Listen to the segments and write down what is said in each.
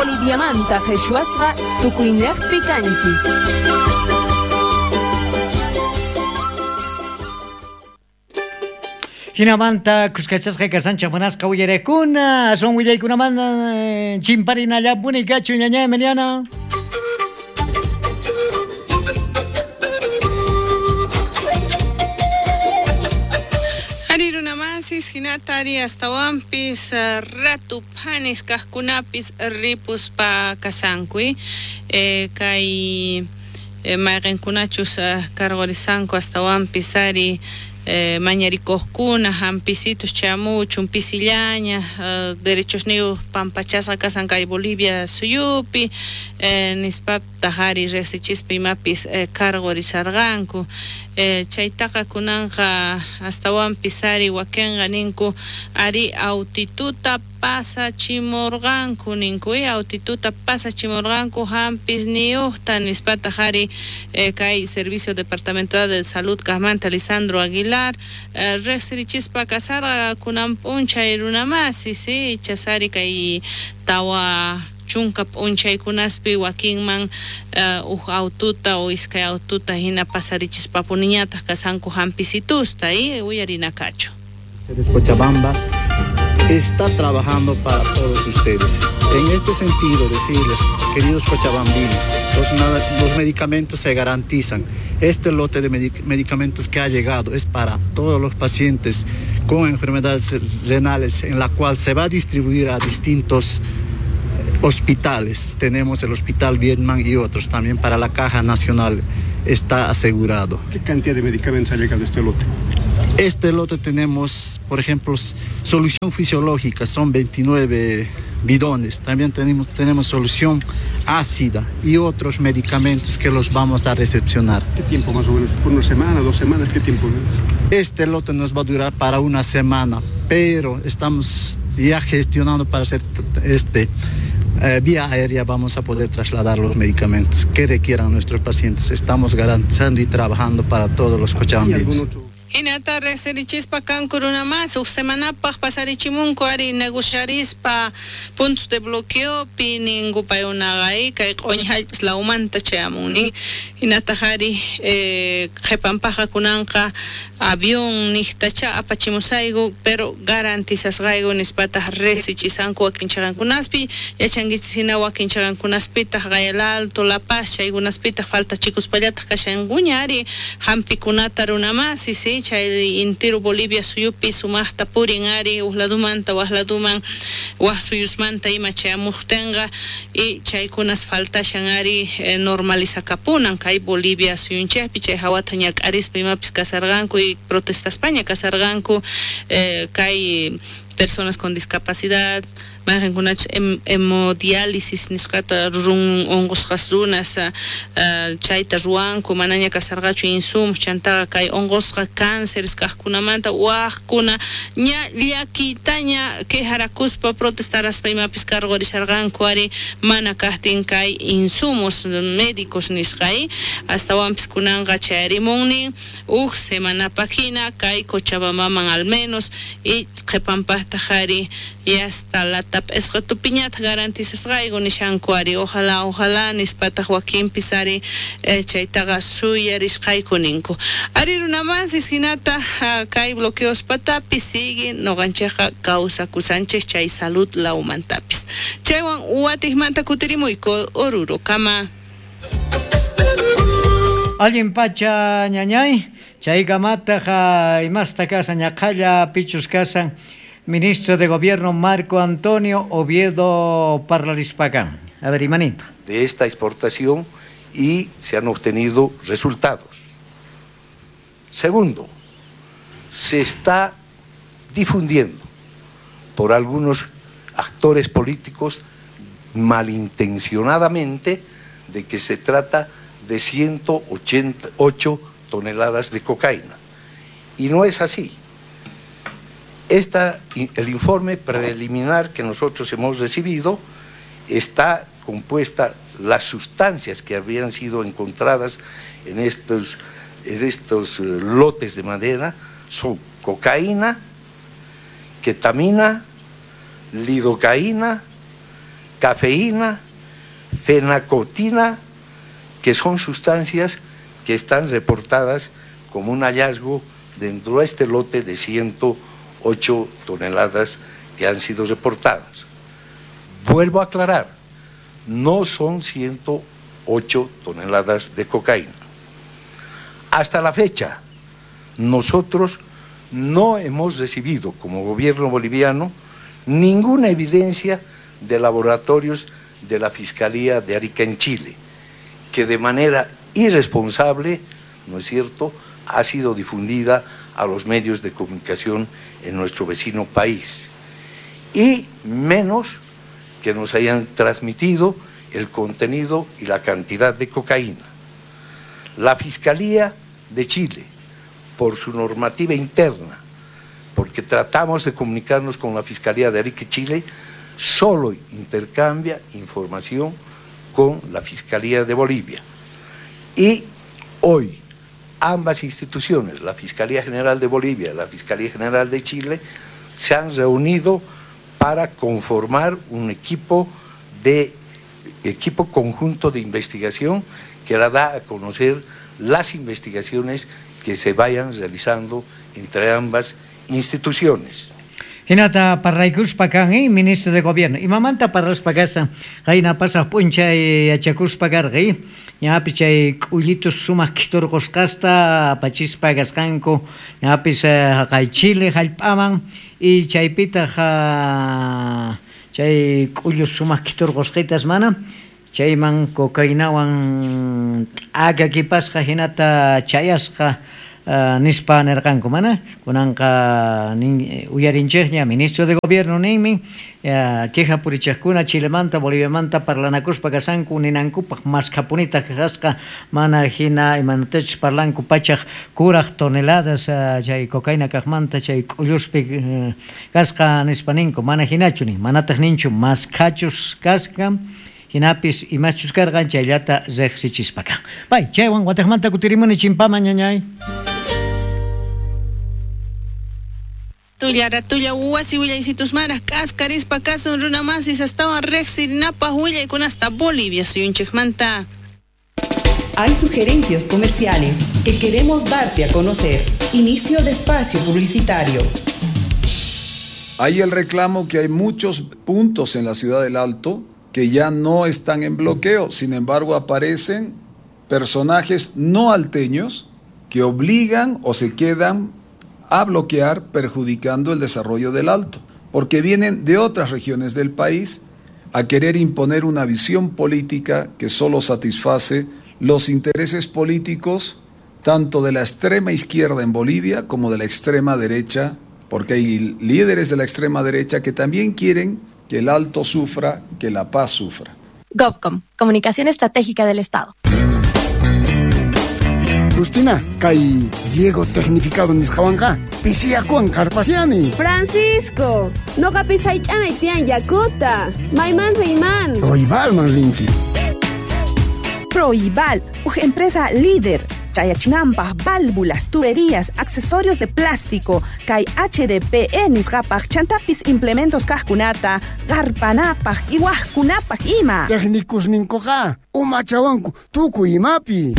Boliviamanta qhichwasqa tukuynejpi kanchis. Jinamanta kuskachasqa kashanchej munasqa uyarekuna, aswan willaykunamanta chimparinallapuni kachun ñaña Emiliana. Ari runamasis hinata ari astawanpis ratu phanis kajkunapis ripuspa kashanku kay mayqinkunachus cargorisanku astawanpis ari mañarikuqkuna hampisitus chamuchun pisillaña derechosniyuq pampachasqa kasan kay Bolivia suyupi nispataq ari riqsichispa imapis cargorisarqanku chaytaqa kunanqa astawanpis ari wakinqa ninku ari autituta pasachimurqanku ninku autituta pasachimurqanku hampis niyuqta nispataq ari kay Servicio Departamental de Salud kaqmanta Lisandro Aguilar riqsirichispa kasarqa kunan p'unchay runamasi si chasari kay tawa chunka p'unchaykunaspi wakinman uj aututa o iskay aututa hina pasarichispapuniñataq kasanku hampisitusta uyarinakachu. Cochabamba está trabajando para todos ustedes. En este sentido, decirles, queridos cochabambinos, los medicamentos se garantizan. Este lote de medicamentos que ha llegado es para todos los pacientes con enfermedades renales, en la cual se va a distribuir a distintos hospitales. Tenemos el Hospital Vietnam y otros también para la Caja Nacional está asegurado. ¿Qué cantidad de medicamentos ha llegado este lote? Este lote tenemos, por ejemplo, solución fisiológica, son 29 bidones. También tenemos solución ácida y otros medicamentos que los vamos a recepcionar. ¿Qué tiempo más o menos? ¿Por una semana, 2 semanas? ¿Qué tiempo? Este lote nos va a durar para una semana, pero estamos ya gestionando para hacer vía aérea vamos a poder trasladar los medicamentos que requieran nuestros pacientes. Estamos garantizando y trabajando para todos los cochabambinos. Hinata riqsirichispa kanku runamas uj semanapaq pasarichimunku ari negociarispa puntos de bloqueopi ninku paykunaqa kay q'uñi hallp'as lawmanta chayamun nin hinataq ari qhipanpaqqa kunanqa avión niqtacha apachimusayku pero garantizasqayku nispataq riqsichisanku wakin chaqankunaspi yachankichis hina wakin chaqankunaspitaq Gayal Alto, La Paz chaykunaspitaq faltachikuspallataq kashankuña ari hampikunata runamasi si chay intiro Bolivia suyupi sumaqta purin ari uj ladumanta waj laduman waj suyusmanta ima chayamuqtinqa y chaykunas faltashan ari normalizakapunan kay Bolivia suyunchikpi chay hawata ñak'arispa imapis kasarqanku y protestaspaña kasarqanku kay personas con discapacidad mayqinkunachus hemodiálisis nisqata rurun unqusqas runas chayta ruwanku manaña kasarqachu insumos chantaqa kay unqusqa cánceres kaqkunamanta waqkuna ña llakiytaña quejarakuspa protestaraspa imapis cargorisarqanku ari mana kaqtin kay insumos médicos nisqa astawanpis kunanqa chayarimunnin uj semanapaq hina kay Cochabambaman al menos y qhipanpaqtaq ari y hasta la p'isqatupiñataq garantizasqayku nishanku ari ojalá ojalá nispataq wakinpis ari chaytaqa suyarisqayku ninku ari runamasis hinata kay bloqueospatapis sigue noqanchikqa kawsakusanchik chay salud lawmantapis chaywan watiqmanta kutirimuyku Oruro kama. Allin pacha ñañay chaykamataq imasta kasan ñaqhalla pichus kasan Ministro de Gobierno Marco Antonio Oviedo Parlarispacán. A ver, Imanita. De esta exportación y se han obtenido resultados. Segundo, se está difundiendo por algunos actores políticos malintencionadamente de que se trata de 188 toneladas de cocaína. Y no es así. El informe preliminar que nosotros hemos recibido está compuesta las sustancias que habían sido encontradas en estos lotes de madera son cocaína, ketamina, lidocaína, Cafeína, fenacotina, que son sustancias que están reportadas como un hallazgo dentro de este lote de 108 toneladas que han sido reportadas. Vuelvo a aclarar, no son 108 toneladas de cocaína. Hasta la fecha, nosotros no hemos recibido como gobierno boliviano ninguna evidencia de laboratorios de la Fiscalía de Arica en Chile, que de manera irresponsable, ¿no es cierto?, ha sido difundida a los medios de comunicación en nuestro vecino país. Y menos que nos hayan transmitido el contenido y la cantidad de cocaína. La Fiscalía de Chile, por su normativa interna, porque tratamos de comunicarnos con la Fiscalía de Arica, Chile, solo intercambia información con la Fiscalía de Bolivia. Y hoy ambas instituciones, la Fiscalía General de Bolivia y la Fiscalía General de Chile, se han reunido para conformar un equipo conjunto de investigación que hará a conocer las investigaciones que se vayan realizando entre ambas instituciones. Hinata parlaykuspa kan, ministro de Gobierno. Imamanta parlaspa kashan, qayna pasaq p'unchay yachakuspa karqa, ñapis chay k'ullitus sumaq khiturqusqasta apachispa kasqanku, ñapis haqay Chile hallp'aman y chaypitaq chay k'ullus sumaq khiturqusqitas mana chayman cocainawan t'akakipasqa hinata chayasqa nispa nerqanku mana kunanqa uyarinchikña ministro de Gobierno ninmi queja purichaqkuna Chilemanta Boliviamanta parlanakuspa kasanku ninankupaq maskhapunitaq kasqa mana hina imanatachus parlanku pachaq kuraq toneladas chay cocaína kaqmanta chay k'ulluspi kasqa nispa ninku mana hinachu nin manataq ninchu maskhachus kasqa hinapis imachus karqan chayllata riqsichispa kan. Bay, chaywan wataqmanta kutirimuni chimpaman ñañay. Tulla ratulla wasi willaysitus maraj k'askarispa kasun runa masis astawan riqsirinapaq willaykunasta Bolivia suyunchikmanta. Hay sugerencias comerciales que queremos darte a conocer. Inicio de espacio publicitario. Hay el reclamo que hay muchos puntos en la ciudad del Alto que ya no están en bloqueo. Sin embargo, aparecen personajes no alteños que obligan o se quedan a bloquear, perjudicando el desarrollo del Alto, porque vienen de otras regiones del país a querer imponer una visión política que solo satisface los intereses políticos tanto de la extrema izquierda en Bolivia como de la extrema derecha, porque hay líderes de la extrema derecha que también quieren que el Alto sufra, que La Paz sufra. GovCom, Comunicación Estratégica del Estado. Justina, kay riego tecnificado nisqawanqa pisiyakuwan qarpasiani. Francisco, noqapis haych'anay tiyan yakuta. Mayman riyman. Proibalman rinki. Proibal, empresa líder. Chayachinampaj, válvulas, tuberías, accesorios de plástico, kay HDPE nisqapaj, chantapis implementos kajkunata, garpanapaj, iwajkunapaj ima. Técnicos ninkuqa, umachawanku, tukuy imapi.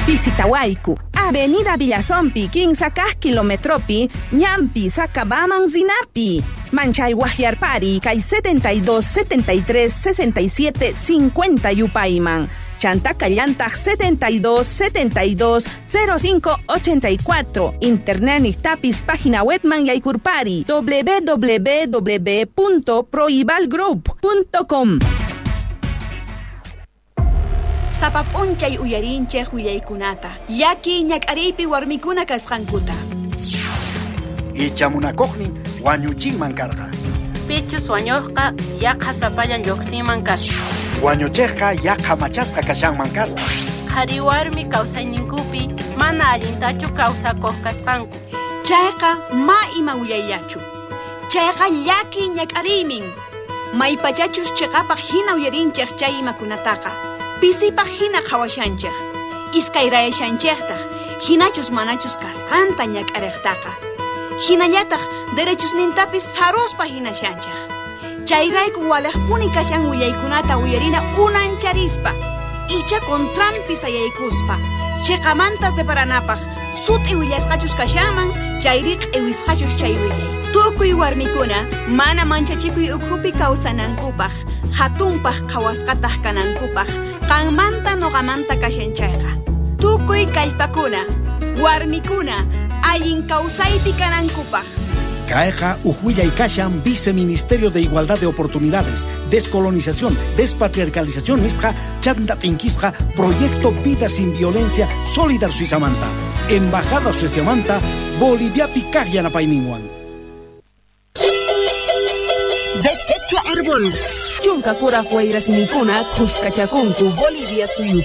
Visitawayku, Avenida Villazompi, 15 kilometropi, Ñampi, Sacabaman, Zinapi. Manchay Guajiarpari, kay 72 73 67 50 Yupayman. Chantaka llantaq 72 72 05 84. Internet niqtapis página webman yaykurpari www.proibalgroup.com. Sapap'unchay uyarinchej willaykunata, llaki ñak'ariypi warmikuna kasqankuta. Ichamunakuqnin wañuchinman karqa. Pichus wañuqqa yaqa sapallan lluqsinman kasqa. Wañuchiqqa yaqa machasqa kashanman kasqa. Qhari warmi kawsayninkupi mana allintachu kawsakuq kasqanku. Chayqa ma ima willayllachu. Chayqa llaki ñak'ariymin. Maypachachus chiqapaq hina uyarinchej chay imakunataqa. Pisipaq hina qhawashanchej. Iskayrayashanchejtaq hinachus manachus kasqanta ñak'ariqtaqa. Hinallataq derechusnintapis saruspa hinashanchej. Chayrayku walejpuni kashan willaykunata uyarina unancharispa, icha contranpi sayaykuspa. Chiqamanta separanapaq sut'i willasqachus kashanman, chayri q'iwisqachus chay willay. Tukuy warmikuna mana manchachikuy ukhupi kawsanankupaq, hatunpaq qhawasqataq kanankupaq, qanmanta noqamanta kashan chayqa. Tukuy kallpakuna, warmikuna, allin kawsaypi kanankupaq. Kayqa uj kashan Viceministerio de Igualdad de Oportunidades, Descolonización, Despatriarcalización nisqa, chanta t'inkisqa, Proyecto Vida Sin Violencia, Solidar Suizamanta, Embajada Sueziamanta, Boliviapi kaq yanapayninwan. De Quechua Árbol. Chunka kuraj wayrasninkuna khuskachakunku Bolivia suyupi.